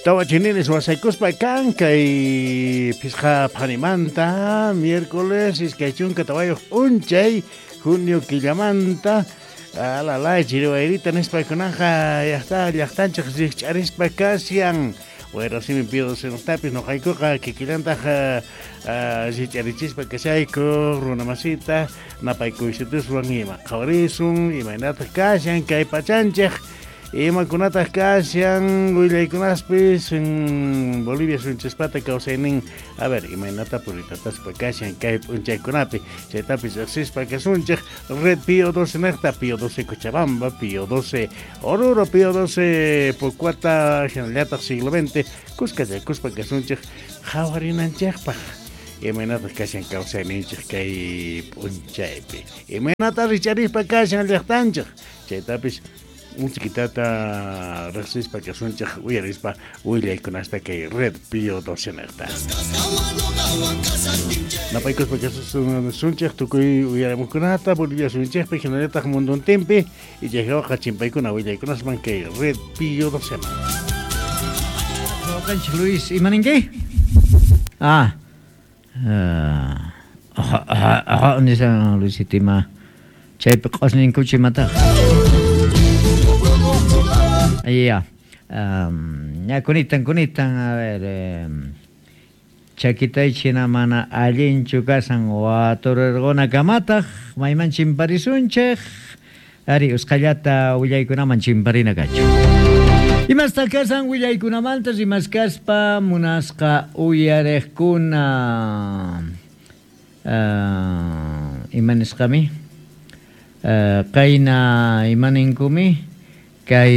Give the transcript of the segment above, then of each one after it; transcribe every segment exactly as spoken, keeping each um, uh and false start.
Tawa chininis wasaykuspa kan kay pisqa phanimanta miércoles iskay chunka tawayuq p'unchay junio killamanta alalay chiriwayrita nispa kunanja llaqta llaqtanchik rikch'arispa kashan Wayrasimi Pío doce noqtapis noqaykuqa kikillantaq rikch'arichispa kashayku runamasita napaykuyshutuswan ima qhawarisun imaynataq kashan kay pachanchik imakunataq kashan willaykunaspis Bolivia sunchispata kawsaynin a ver imaynata puritataspa kashan kay p'unchaykunapi chaytapis riqsispa kasunchik Red Pío doce niqta Pío doce Cochabamba, Pío doce Oruro, Pío doce Pocuata hinallataq siglo veinte kuskachakuspa kasunchik qhawarinanchikpaq imaynataq kashan kawsayninchik kay p'unchaypi imaynata richarispa kashan llaqtanchik chaytapis unchiquitata riqsispa kasunchik uyarispa willaykunasta kay Red Pío doce niqta napaykuspa kasunchik tukuy uyarimuqkunata Bolivia sunchikpi hinallataq munduntinpi ichayqa chimpaykuna willaykunasman kay Red Pío doce. Kanchik Luis, imaninki? Ah. Ah, ah, nisan Luisito ima chaypi q'osninkuchi imataq. Ya, um, ya kunitan kunitan a ver eh, chakitaychina mana allinchu kasan watururquna kamataq mayman chimparisunchik ari usqhallata willaykunaman chimparina kachu. Imasta kasan willaykunamanta rimaskaspa munasqa uyariqkuna uh, ima nisqami uh, qayna imaninkumi kay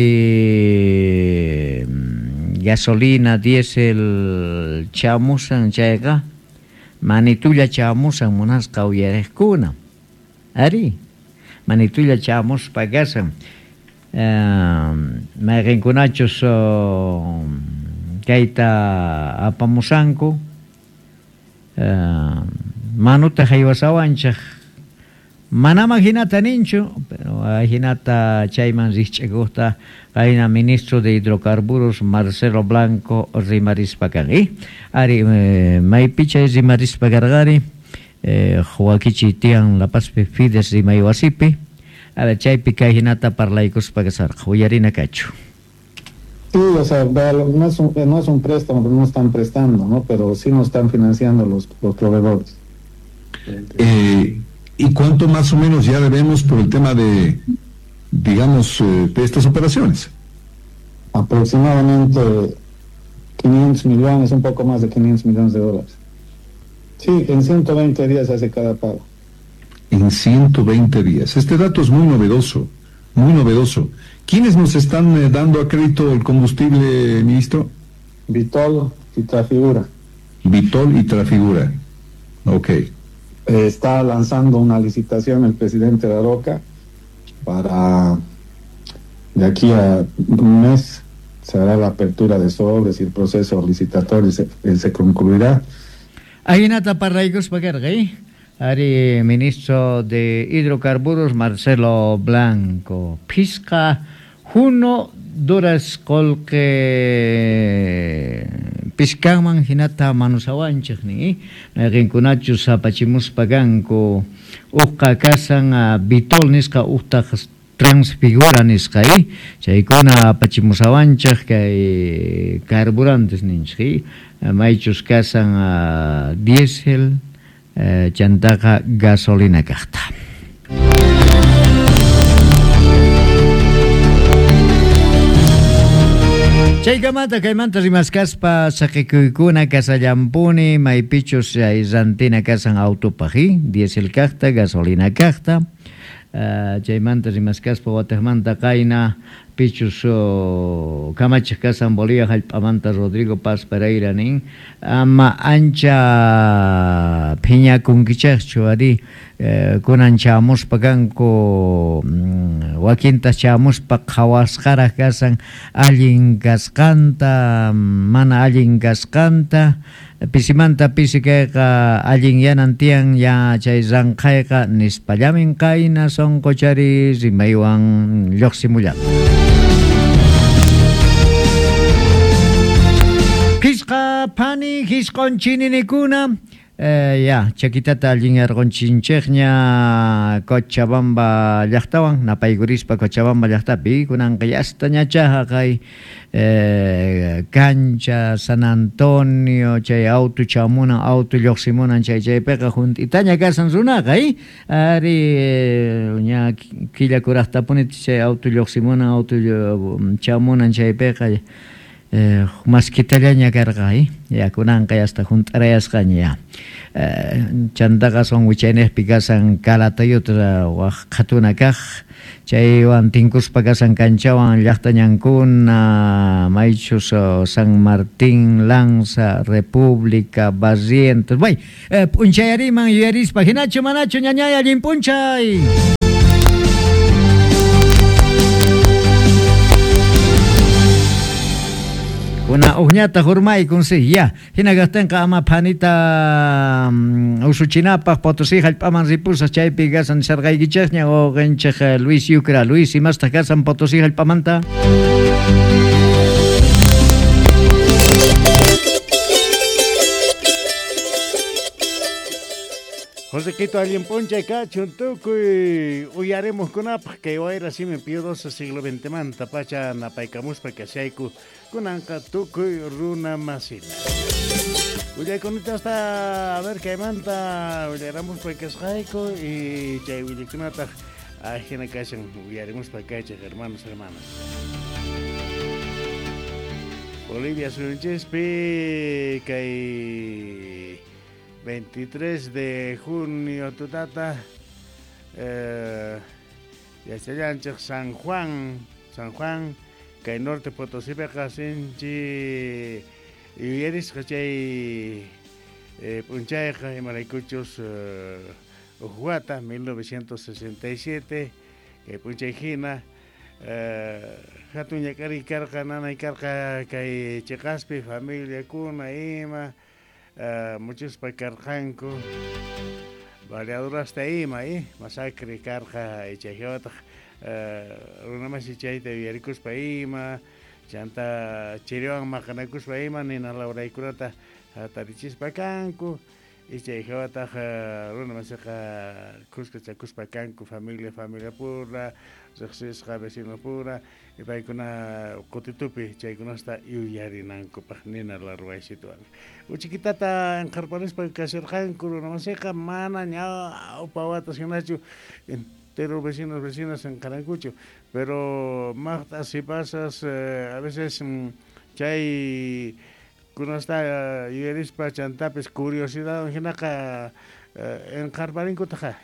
gasolina, diésel chamusan chayqa manitulla chamusan munasqa uyariqkuna ari manitulla chamuspa kasan mayqinkunachus kayta apamusanku manuta haywasawanchik manama hinata ninchu pero hinata chayman rikch'akuqta qayna ministro de hidrocarburos Marcelo Blanco rimarispa kan ari maypi chay rimarispa karqari wakichi tiyan La Pazpi Fides rimaywasipi a ver chaypi kay hinata parlaykuspa kasarqa uyarina kachu. Sí, o sea, no es un, no es un préstamo, no están prestando, ¿no? Pero sí nos están financiando los, los proveedores. Eh, ¿Y cuánto más o menos ya debemos por el tema de, digamos, de estas operaciones? Aproximadamente quinientos millones, un poco más de quinientos millones de dólares. Sí, en ciento veinte días se hace cada pago. En ciento veinte días. Este dato es muy novedoso, muy novedoso. ¿Quiénes nos están dando a crédito el combustible, ministro? Vitol y Trafigura. Vitol y Trafigura. Ok. Está lanzando una licitación el presidente de Aroca para de aquí a un mes se hará la apertura de sobres y el proceso licitatorio se, se concluirá. Ahinata parlaykuspa karqa, ari ministro de hidrocarburos Marcelo Blanco pisqa juno duras qolqe piskanman hinata manusawanchik ni mayqinkunachus apachimuspa kanku uqqa kasan Vitol nisqa uqtaq Transfigura nisqa chaykuna apachimusawanchik kay carburantes ninchik maychus kasan diésel chantaqa gasolina kaqta. Chaykamanta kaymanta rimaskaspa saqikuykuna kasallampuni maypichus rantina kasan autopaq diésel kaqta gasolina kaqta uh, chaymanta rimaskaspa wataqmanta qayna pichus oh, kamachiq kasan Bolivia hallp'amanta Rodrigo Paz Pereira nin ama ancha phiñakunkichaqchu ari eh, kunan chamuspa kanku mm, wakinta chamuspa qhawasqaraq kasan allin kasqanta mana allin kasqanta pisimanta pisi kayqa allin yanan tiyan ya chay ranqhayqa nispallamin qayna sunquchari rimaywan lluqsimullan. Pani jisqon chininikuna. Eh, ya, chakitata allinyarqonchinchikña Cochabamba llaqtawan, napaykurispa Cochabamba llaqtapi, kunanqa yastañacha haqay eh, cancha San Antonio, chay auto chamunan, auto lluqsimunan, chay chaypiqa junt'itaña kasan runaqa, eh? Ari ña killa kuraqtapuni chay auto lluqsimunan, auto chamunan chaypiqa Eh, maskitallaña karqa, eh? Ya kunanqa yasta junt'arayasqaña ya. Eh, chantaqa son wichaynejpi kasan Calatayutra waj qhatuna kaq, chaywan tinkuspa kasan kanchawan llaqtañankuna, maychus San Martín, Lanza, República, Barrientos. Bay, eh, p'unchayariman yuyarispa, hinachu manachu ñañay allin p'unchay. Una uñata hurmaykun si ya hina kaqtinqa ama phanita um, usuchinapaq Potosí hallp'aman ripusaq chaypi kasan sarqaykichikña wawqinchik Luis Yucra. Luis, imastaq kasan Potosí hallp'amanta? Josequito allin p'unchay kachun tukuy uyarimuqkunapaq kay wayra simi piadosa siglo veinte manta pacha napaykamuspa kashayku kunanqa tukuy runa masita. Willaykunata hasta a ver kaymanta willaramuspa kasqayku y chay willaykunataq ajina kashan uyarimuspa kaychik hermanos hermanas. Bolivia suyunchispi kay veintitrés de junio tutata eh, yachallanchik San Juan, San Juan kay norte Potosípiqa sinchi yuyarisqa chay eh, p'unchayqa imaraykuchus eh, uj wata mil novecientos sesenta y siete kay p'unchay hina eh, hatun ñak'ariy karqa nanay karqa kay chiqaspi familiakuna ima Uh, muchuspa karqanku baleadurasta ima eh? Masacre karqa chayhawataq uh, runamasi chayta yuyarikuspa ima chanta chiriwan maqanakuspa ima nina lawraykunata hatarichispa kanku y chayhawataq uh, runamasiqa kuskachakuspa kanku familia familia pura riqsisqa vecino pura y paykuna qutitupi chaykunasta yuyarinankupaq nina larwaysituwan. Uchikitata inqarparispa kasirqanku runamasiqa mana ñawpa watas hinachu entero vecinos vecinas inqarankuchu pero maqta sipasas eh, a veces chay kunasta yuyarispa chantapis curiosidad hinaqa eh, inqarparinkutaqa eh.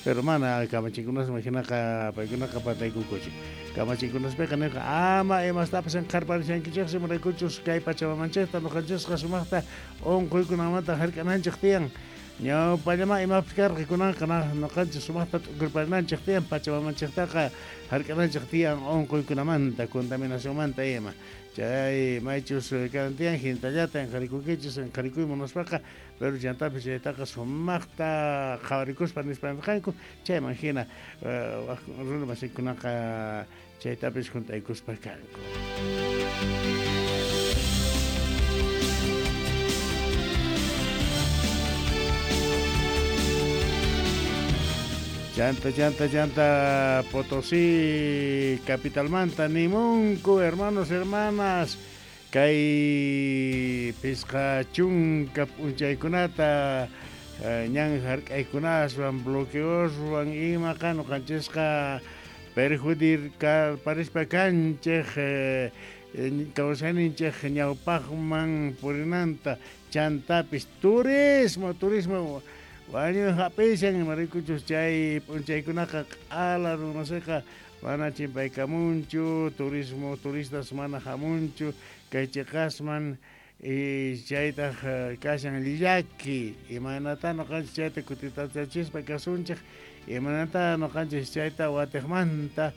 Pero mana kamachinkunasman hinaqa paykunaqa pataykunkuchu. Kamachinkunaspiqa nirqa ama imastapas inqarparishankichiksi imaraykuchus kay pachamamanchikta ñuqanchisqa sumaqta unquykunamanta hark'ananchik tiyan. Ñawpallama imapis karqa kunanqa ñuqanchik sumaqta t'ukurparinanchik tiyan pachamamanchiktaqa hark'ananchik tiyan unquykunamanta contaminacionmanta ima. Chay maychus kanan tiyan hintallata inqarikunkichis inqarikuy munaspaqa pero chantapis chaytaqa sumaqta qhawarikuspa nispa nirqanku chayman hina uh, runa masikunaqa chaytapis juntaykuspa kanku. Chanta, chanta, chanta, Potosí, capitalmanta, nimunku, hermanos, hermanas, kay pisqa chunka p'unchaykunata eh, ñan hark'aykunaswan bloqueoswan imaqa ñuqanchisqa perjudicar parispa kanchik eh, kawsayninchik ñawpaqman purinanta chantapis turismo, turismo wañuy hap'ishan imaraykuchus chay p'unchaykunaqa q'ala runasiqa mana chimpaykamunchu turismo turistas mana hamunchu kay chiqasman y chaytaq kashan llaki imaynata ñuqanchik chayta kutitachachispa kasunchik imaynata ñuqanchik chayta watiqmanta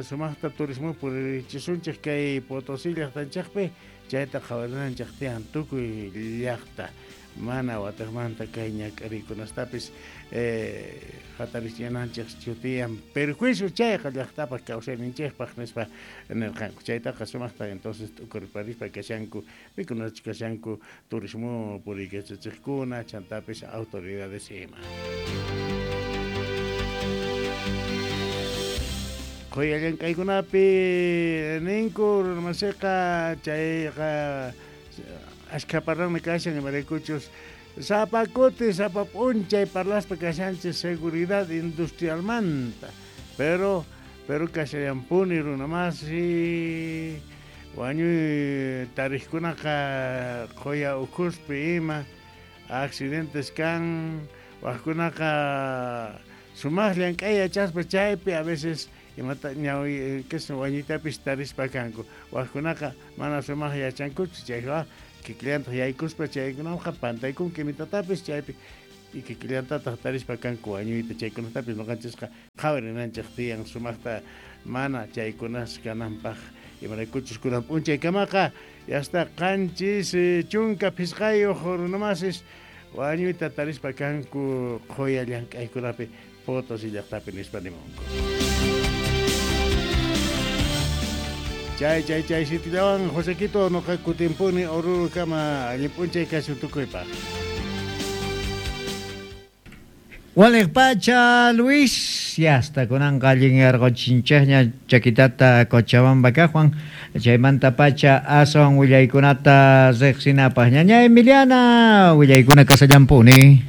sumaqta turismo puririchisunchik kay Potosí llaqtanchikpi chayta qhawarinanchik tiyan tukuy llaqta mana wataqmanta kay ñak'arikunastapis eh, hatarichinanchik chutiyan perjuicio chayqa llaqtapaq kawsayninchikpaq nispa nirqanku chaytaqa sumaqta entonces t'ukurparispa kashanku pikunachus kashanku turismo puriykachachiqkuna chantapis autoridades ima. Qhuya llank'aykunapi ninku runamasiqa chayqa ashkha parlanmi kashan imaraykuchus sapa kuti sapa p'unchay parlaspa kashanchis seguridad industrialmanta pero pero kashallampuni runamasi wañuy tariqkunaqa qhuya ukhuspi ima accidentes kan waqkunaqa sumaq llank'ay yachaspa chaypi a veces imata ñawi que wañuytapis tarispa kanku waqkunaqa mana sumaq yachankuchu chayqa kikillantaq yaykuspa chaykunaqa pantaykunki imitatapis chaypi y kikillantataq tarispa kanku wañuyta chaykunatapis ñuqanchisqa qhawarinanchik tiyan sumaqta mana chaykunas kananpaq imaraykuchus kunan p'unchaykamaqa yasta qanchis chunka phisqayuq runamasis wañuyta tarispa kanku qhuya llank'aykunapi Potosí llaqtapi nispa nimunku. Chay chay chay sitillawan Josequito noqa kutimpuni Oruro kama allin p'unchay kasun tukuypaq. Waliq pacha Luis, ya hasta kunanqa allin yarqochinchikña chakitata Cochabamba kaqwan chaymanta pacha aswan willaykunata riqsinapaq ñaña Emiliana willaykuna kasallampuni.